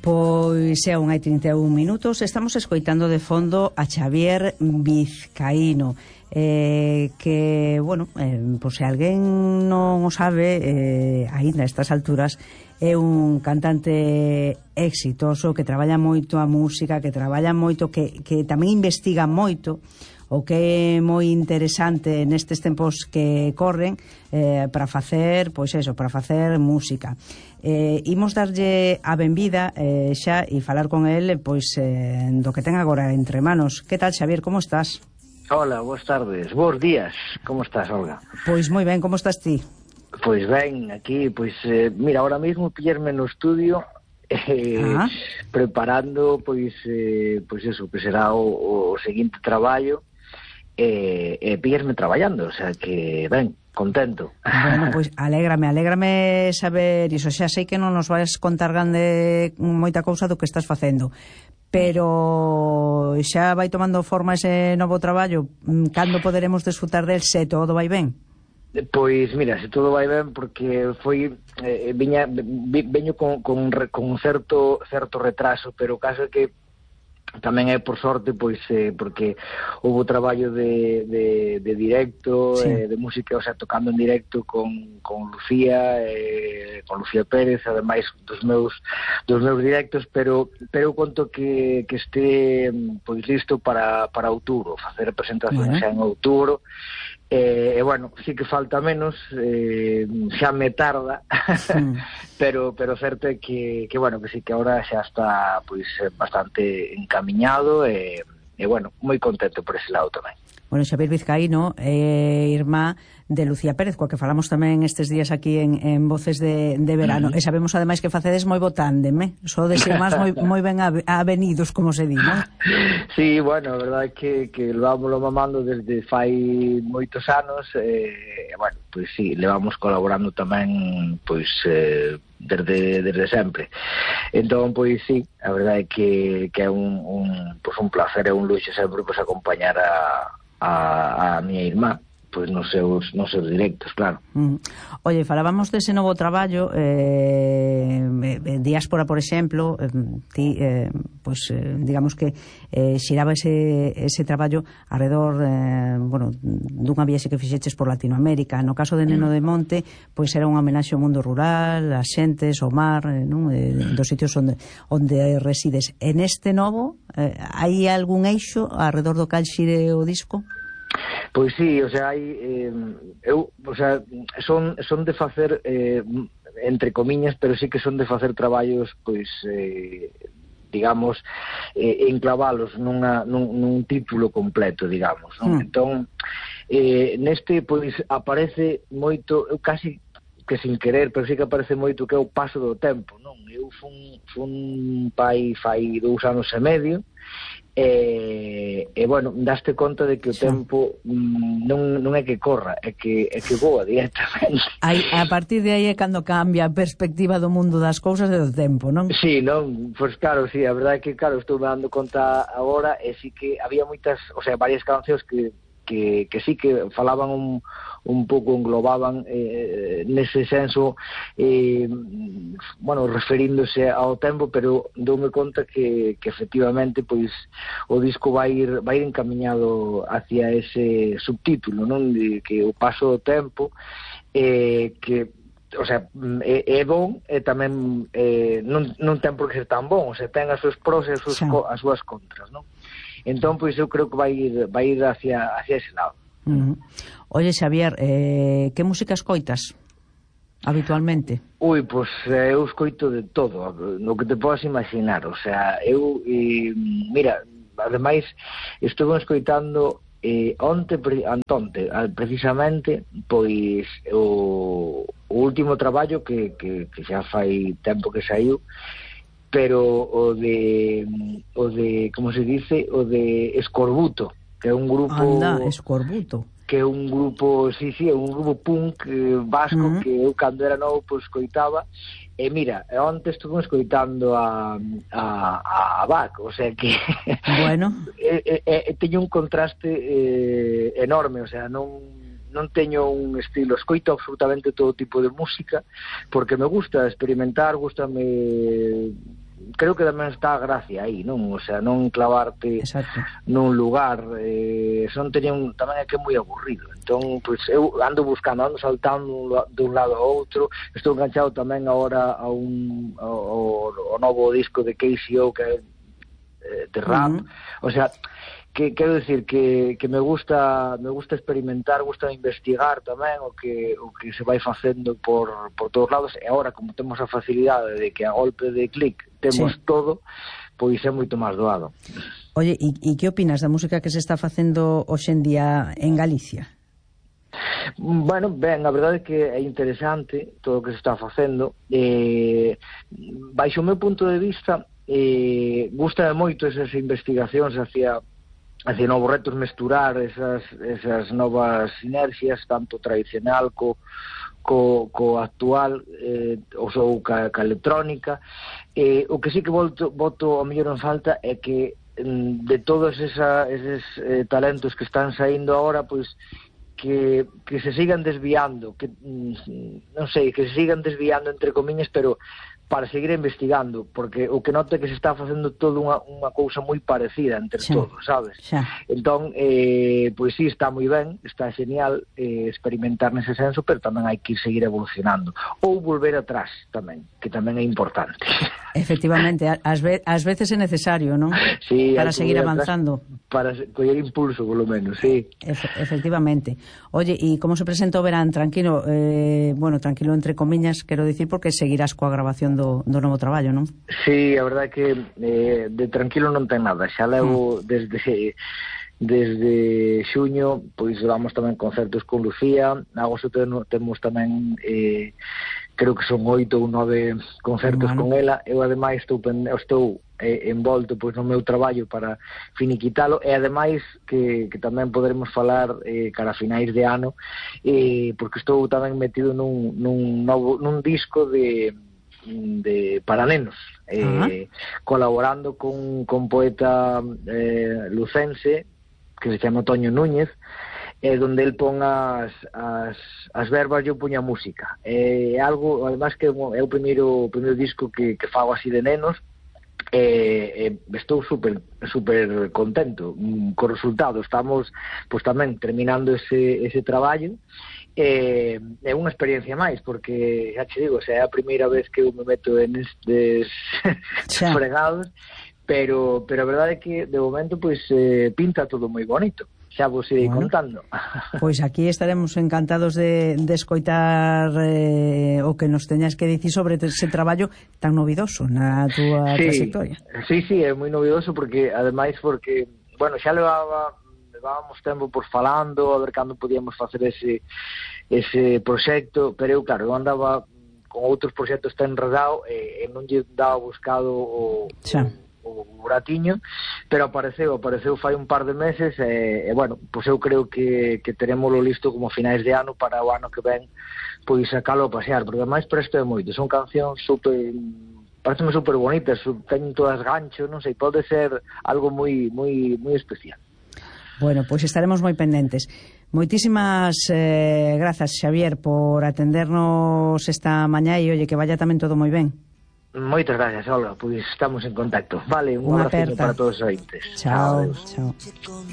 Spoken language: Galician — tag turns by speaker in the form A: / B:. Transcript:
A: Pois é, 1:31. Estamos escoitando de fondo a Xavier Vizcaíno, que, bueno, por se alguén non o sabe, aínda a estas alturas, é un cantante exitoso que traballa moito a música, que traballa moito, que tamén investiga moito, o que é moi interesante nestes tempos que corren, para facer, pois eso, para facer música. Imos darlle a benvida xa e falar con el pois do que ten agora entre manos. Que tal, Xavier, como estás?
B: Hola, boas tardes, bons días. Como estás, Olga?
A: Pois moi ben, como estás ti?
B: Pois ben, aquí, pois, mira, ahora mesmo pillarme no estudio preparando, pois eso, que será o seguinte traballo, pillarme traballando, o sea que, ben, contento.
A: Bueno, pois alégrame saber iso. Xa sei que non nos vais contar grande moita cousa do que estás facendo, pero xa vai tomando forma ese novo traballo. Cando poderemos desfrutar del, se todo vai ben?
B: Pois mira, se todo vai ben, porque foi veño con certo retraso, pero o caso é que tamén é por sorte, pois porque houve traballo de directo, sí, de música, o sea, tocando en directo con Lucía Pérez, ademais dos meus directos, pero conto que este pois listo para outubro, facer a presentación xa en outubro. Bueno, sí que falta menos, xa me tarda, pero certo é que bueno, que sí que ahora xa está pois bastante encamiñado e bueno, moi contento por ese lado tamén.
A: Bueno, Xavier Vizcaíno é irmá de Lucía Pérez, coa que falamos tamén estes días aquí en Voces de Verano, e sabemos ademais que facedes moi bo tándem, sodes irmás moi ben avenidos, como se di, non?
B: Sí, bueno, a verdade é que levámoslo mamando desde fai moitos anos, bueno, pois sí, levamos colaborando tamén, pois, desde sempre. Entón, pois sí, a verdade é que é un placer e un luxo sempre pois acompañar a miña irmá pois nos seus directos, claro.
A: Oye, falábamos dese novo traballo, Diáspora, por exemplo, ti, pois, digamos que xiraba ese traballo alrededor, bueno, dunha viaxe que fixeches por Latinoamérica. No caso de Neno de Monte, pois era unha homenaxe ao mundo rural, as xentes, ao mar, non? Dos sitios onde resides. En este novo, hai algún eixo alrededor do cal xire o disco?
B: Pois sí, o sea, hai son de facer entre comiñas, pero sí que son de facer traballos, pois digamos, enclavalos nun título completo, digamos, non? Entón, neste pois aparece moito, eu casi que sin querer, pero sí que aparece moito que é o paso do tempo, non? Eu fun pai fai 2 anos e medio, bueno, daste conta de que o tempo non é que corra, é que voa directamente.
A: A partir de aí é cando cambia a perspectiva do mundo das cousas e do tempo, non?
B: Sí, non, pois claro, sí, a verdade é que, claro, estou me dando conta agora, e sí que había moitas, o sea, varias cancións que sí que falaban un pouco, englobaban nese senso, bueno, referíndose ao tempo, pero doume conta que efectivamente pois o disco vai ir encamiñado hacia ese subtítulo, non? De que o paso do tempo, que, o sea, é bon, e tamén non ten por que ser tan bon, o sea, ten as súas pros e as súas contras, non? Entón, pois eu creo que vai ir hacia ese lado.
A: Oye, Xavier, que música escoitas habitualmente?
B: Ui, pois eu escoito de todo, no que te podes imaginar, o sea, eu, mira, ademais, estou escoitando onte, precisamente, pois o último traballo que xa fai tempo que saiu, pero o de como se dice, o de Escorbuto, que é un grupo...
A: Anda, Escorbuto.
B: Que é un grupo, sí, é un grupo punk vasco que eu cando era novo pois escoitaba, e mira, onte estuve escoitando a Bach, o sea que
A: bueno,
B: teño un contraste enorme, o sea, non teño un estilo, escoito absolutamente todo tipo de música, porque me gusta experimentar, gústame creo que tamén está a gracia aí, non? O sea, non clavarte
A: Exacto.
B: nun lugar, son tamén é que é moi aburrido. Entón, pois eu ando buscando, ando saltando dun lado a outro. Estou enganchado tamén agora ao novo disco de KCO, que é de rap. O sea, que quero decir que me gusta experimentar, gusta investigar tamén o que se vai facendo por todos lados, e agora como temos a facilidade de que a golpe de clic temos todo, pois é moito máis doado.
A: Oye, e que opinas da música que se está facendo hoxe en día en Galicia?
B: Bueno, ben, a verdade é que é interesante todo o que se está facendo. Baixo o meu punto de vista, gusta moito esas investigacións hacia novos retos, mesturar esas novas sinerxias, tanto tradicional co actual, ou ca electrónica. O que sí que boto a mellor en falta é que de todos eses talentos que están saindo agora, pois que se sigan desviando, que non sei, que se sigan desviando entre comiñas, pero para seguir investigando, porque o que noto é que se está facendo todo unha cousa moi parecida entre todos, sabes? Entón, pois sí, está moi ben, está genial experimentar nese senso, pero tamén hai que seguir evolucionando. Ou volver atrás tamén, que tamén é importante.
A: Efectivamente, ás veces é necesario, non?
B: Sí,
A: para seguir avanzando.
B: Para coller impulso, polo menos, sí.
A: Efectivamente. Oye, e como se presenta o verán? Tranquilo, bueno, tranquilo entre comiñas, quero dicir, porque seguirás coa grabación do novo traballo, non?
B: Sí, a verdade é que de tranquilo non ten nada. Xa levo desde xuño, pois vamos tamén concertos con Lucía. Agosto temos tamén creo que son 8 ou 9 concertos con ela. Eu ademais estou envolto pois no meu traballo para finiquitalo, e ademais que tamén poderemos falar cara a finais de ano, porque estou tamén metido nun disco de para nenos, colaborando con poeta lucense que se chama Toño Núñez, donde el pon as verbas e eu poño a música. É algo, además, que é o primeiro disco que fago así de nenos. Estou super contento co resultado. Estamos pois tamén terminando ese traballo. É unha experiencia máis, porque xa che digo, é a primeira vez que eu me meto en estes fregados, pero a verdade é que de momento pois pinta todo moi bonito. Xa vos irei contando.
A: Pois aquí estaremos encantados de escoitar o que nos teñas que dicir sobre ese traballo tan novidoso na túa trayectoria. Sí,
B: é moi novidoso, porque ademais, bueno, xa levábamos tempo por falando, a ver cando podíamos facer ese proxecto, pero eu, claro, eu andaba con outros proxectos tan enredado e non lle daba buscado o buratiño, pero apareceu fai un par de meses, e bueno, pois eu creo que terémoslo listo como finais de ano, para o ano que ven pois sacalo a pasear, porque ademais presto é moito, son cancións pareceme super bonitas, teñen todas gancho, non sei, pode ser algo moi especial.
A: Bueno, pois estaremos moi pendentes. Moitísimas grazas, Xavier, por atendernos esta mañá, e oye, que vaya tamén todo moi ben.
B: Moitas gracias, Olga, pois estamos en contacto. Vale, un abrazo para todos os ointes.
A: Chao.